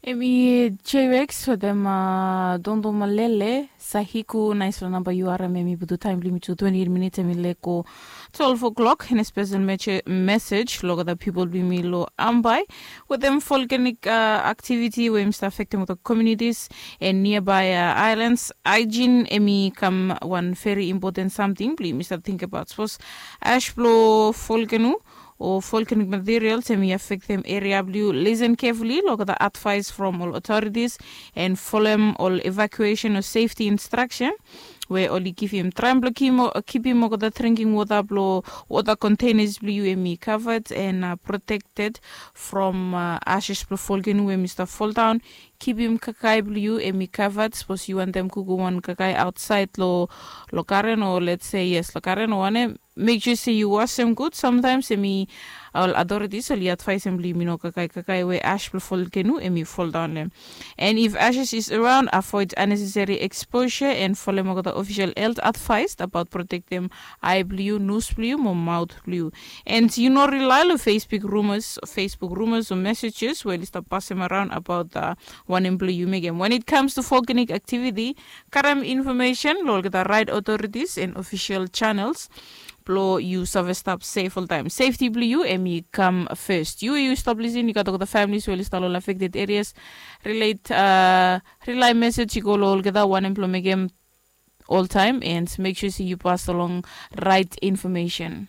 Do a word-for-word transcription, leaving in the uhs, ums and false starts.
Em i J-Rex wetem Dondo Malele. Sahiku, naispela namba yu harim, em i putum taem blong yumi tu twenti eit minits, em i lek go twelve o'clock. And a spesel mesej long olgeta pipol blong yumi long Ambae wetem volcanic activity we yumi stap afektem olgeta communities and nearby islands. Hygiene em i kam wan very important samting blong yumi stap tingbaot. Sapos ash blong volcano o volcanic materials em i afektem eria blong yu, listen carefully long olgeta advice from ol authorities and folem ol evacuation o safety instruction we oli givim. Traem blong kipim olgeta drinking water blong water containers blong yu em i covered and protected from ashes blong volcano we em i stap foldaon. Kipim kakae blong yu em i covered. Sapos yu wantem kukum wan kakae aotsaed long garen o let's say yes long garen o wanem, mek sua se yu wasem gud. Samtaems em i ol authorities oli advaesem blong yumi no kakae kakae we ash blong volcano em i foldaon long em. And if ashes is around, avoid unnecessary exposure and folem olgeta official health advice abaot protektem ae blong yu, nos blong yu mo maot blong yu. And yu no rely long facebook rumors facebook rumors o messages we oli stap pasem araon abaot wanem blong yu mekem. When it comes to volcanic activity, karem infomesen long olgeta right authorities and official channels blong yu save stap sef oltaem. Safety blong yu em i kam fes. Yu we yu stap lisin, yu gat olgeta families we oli stap long affected areas, relate rely mesej i go long olgeta wanem blong mekem oltaem and mek sua se yu pas long right infomesen.